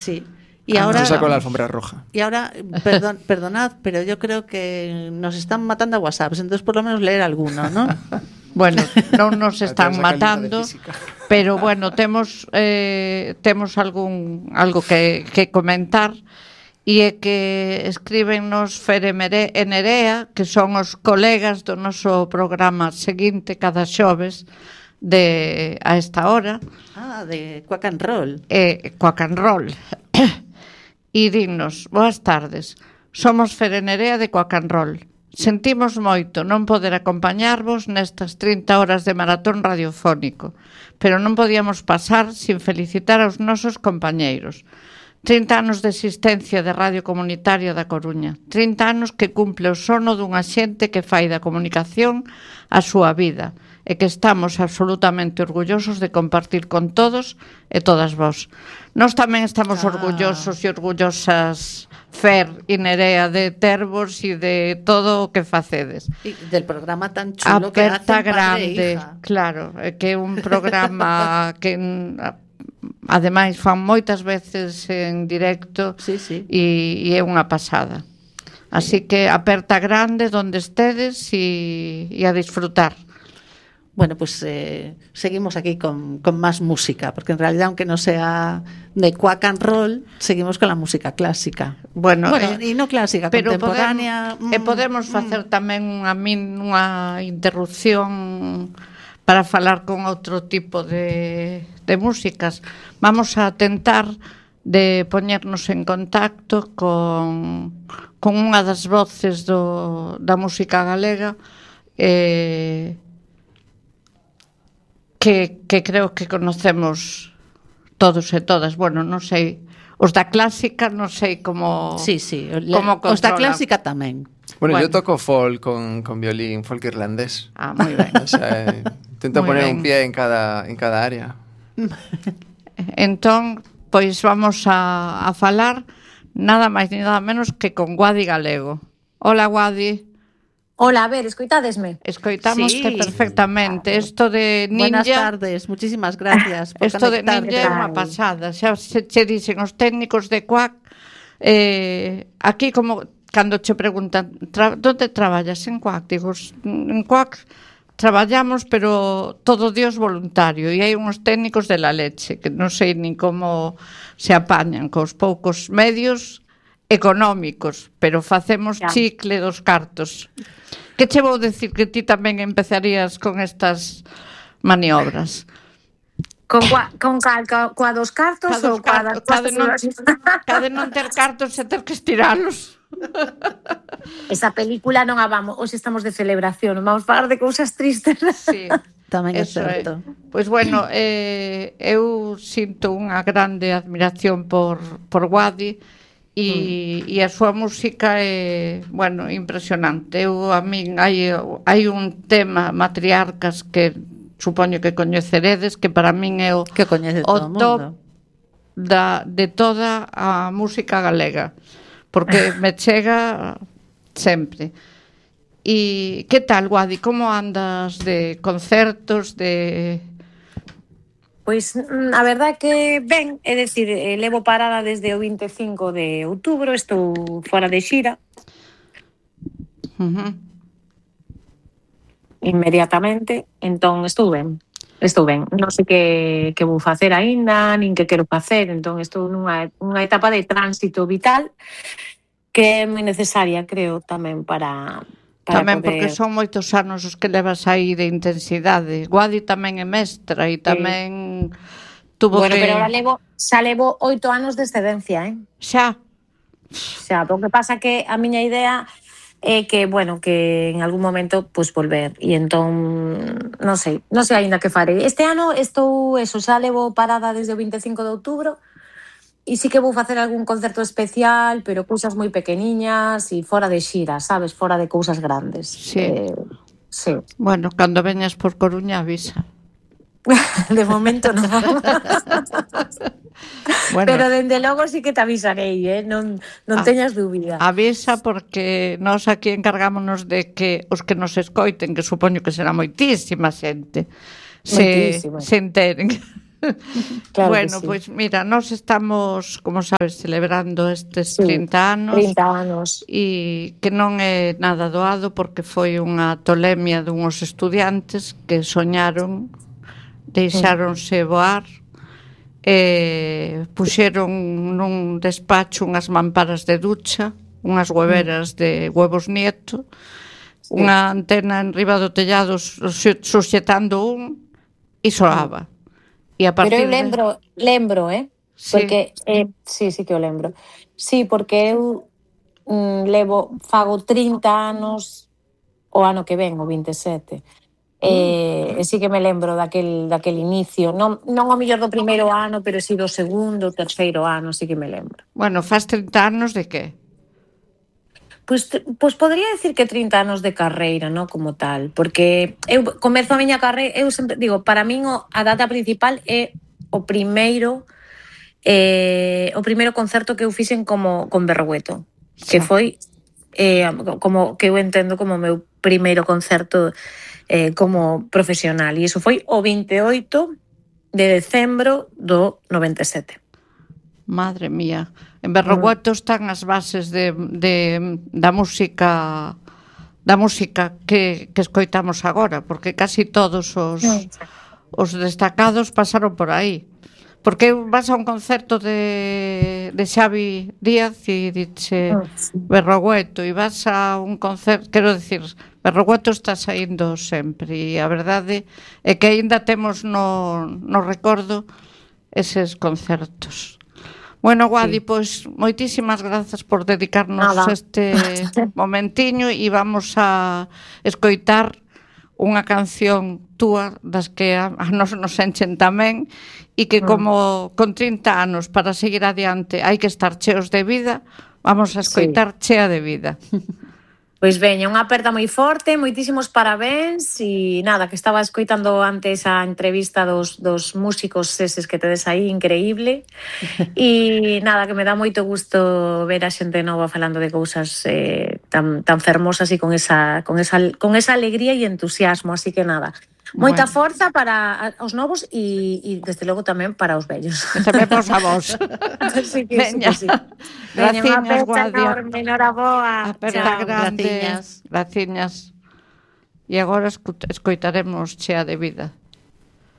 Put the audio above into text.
Sí. Y ahora se sacó la alfombra roja. Y ahora, perdonad, pero yo creo que nos están matando a WhatsApp, entonces por lo menos leer alguno, ¿no? Bueno, non nos están matando, pero bueno, temos algo que comentar, e é que escríbennos Fere e Nerea, que son os colegas do noso programa seguinte cada xoves a esta hora. De Quack and Roll. Quack and Roll. E dignos, boas tardes. Somos Fere e Nerea de Quack and Roll. Sentimos moito non poder acompañarvos nestas 30 horas de maratón radiofónico, pero non podíamos pasar sin felicitar aos nosos compañeiros. 30 anos de existencia de Radio Comunitaria da Coruña, 30 anos que cumple o sono dunha xente que fai da comunicación a súa vida e que estamos absolutamente orgullosos de compartir con todos e todas vós. Nós tamén estamos orgullosos e orgullosas, Fer e Nerea, de tervos e de todo o que facedes. E del programa tan chulo que hacen grande, claro, que é un programa que ademais fan moitas veces en directo, sí. E é unha pasada. Así que aperta grande donde estedes e a disfrutar. Bueno, pues seguimos aquí con más música, porque en realidad, aunque no sea de Quack and Roll, seguimos con la música clásica. Bueno, y no clásica, pero contemporánea. Podemos facer tamén unha interrupción para falar con outro tipo de músicas. Vamos a tentar de poñernos en contacto con unha das voces da música galega, que creo que conocemos todos e todas. Bueno, non sei, os da clásica non sei como... Sí, os da clásica tamén. Bueno, yo toco folk con violín, folk irlandés. Moi ben. O sea, intento poner un pie en cada área. Entón, pois vamos a falar nada máis ni nada menos que con Guadi Galego. Hola, Guadi. Hola, a ver, escoitádesme? Escoitámoste perfectamente. Isto de Ninja... Buenas tardes, muchísimas gracias por Isto de Ninja é unha pasada. Xa che dicen os técnicos de Quack, aquí como cando che preguntan onde traballas en Quack, digo, en Quack traballamos, pero todo Dios voluntario, e hai uns técnicos de la leche que non sei nin como se apañan cos poucos medios económicos, pero facemos chicle dos cartos. Que che vou decir que ti tamén empezarías con estas maniobras? Coa dos cartos ou coa das Cade non ter cartos e ter que estiralos. Esa película non a vamos, hoxe estamos de celebración, non vamos falar de cousas tristes. Sí, tamén é certo. Pois bueno, eu sinto unha grande admiración por Guadi e a súa música é, bueno, impresionante. A min hai un tema, Matriarcas, que supoño que coñeceredes, que para min é o top de toda a música galega, porque me chega sempre. E que tal, Guadi? Como andas de concertos, de... Pois a verdade é que ben, é dicir, levo parada desde o 25 de outubro, estou fora de xira. Inmediatamente, entón estou ben. Non sei que vou facer aínda, nin que quero facer, entón estou nunha etapa de tránsito vital que é moi necesaria, creo, tamén para tamén poder... porque son moitos anos os que levas aí de intensidade. Guadi tamén é mestra e tamén tuvo bueno, que... pero ahora xa levo 8 anos de excedencia, Xa, o que pasa que a miña idea é que, bueno, que en algún momento pues volver, e entón non sei aínda que farei. Este ano xa levo parada desde o 25 de outubro e sí que vou facer algún concerto especial, pero cousas moi pequeniñas e fora de xira, sabes, fora de cousas grandes. Sí. Sí. Bueno, cando veñas por Coruña avisa. De momento non. Bueno, pero dende logo sí que te avisarei, non teñas dúbida. Avisa, porque nós aquí encargámonos de que os que nos escoiten, que supoño que será moitísima xente, se enteren. Claro Bueno, que sí. pois mira, nós estamos, como sabes, celebrando estes Sí, 30 anos 30 anos. e que non é nada doado porque foi unha tolemia dunhos estudiantes que soñaron, deixáronse voar e puxeron nun despacho unhas mamparas de ducha, unhas hueveras de huevos nieto, unha antena en riba do tellado suxetando un e soaba. E a Pero partir eu lembro, Sí. porque sí que o lembro. Sí, porque eu fago 30 anos o ano que ven, o 27. E sí que me lembro daquel inicio, non o mellor do primeiro ano, pero sí do segundo, terceiro ano, sí que me lembro. Bueno, faz 30 anos de que? Pois podría decir que 30 anos de carreira, non como tal, porque eu comezo a miña carreira, eu sempre digo, para min a data principal é o primeiro concerto que eu fixen con Berrogueto, que foi como que eu entendo como o meu primeiro concerto como profesional, e iso foi o 28 de decembro do 97. Madre mía. En Berrogueto están as bases da música que escoitamos agora, porque casi todos os destacados pasaron por aí. Porque vas a un concerto de Xavi Díaz e dice Berrogueto, e vas a un concerto, quero dicir, Berrogueto está saindo sempre, e a verdade é que aínda temos no recordo eses concertos. Bueno, Guadi, pois moitísimas grazas por dedicarnos este momentiño e vamos a escoitar unha canción túa das que a nos enchen tamén e que como con 30 anos para seguir adiante hai que estar cheos de vida, vamos a escoitar Chea de Vida. Pois veña, unha aperta moi forte, moitísimos parabéns e nada, que estaba escoitando antes a entrevista dos músicos eses que tedes aí, increíble. E nada, que me dá moito gusto ver a xente nova falando de cousas tan fermosas e con esa alegría e entusiasmo, así que nada. Moita forza para os novos e desde logo tamén para os vellos. E tamén para os avós. Sí que sí. Veña, unha aperta enorme, enhoraboa. Aperta Chao. grande. Graciñas. E agora escoitaremos Chea de Vida.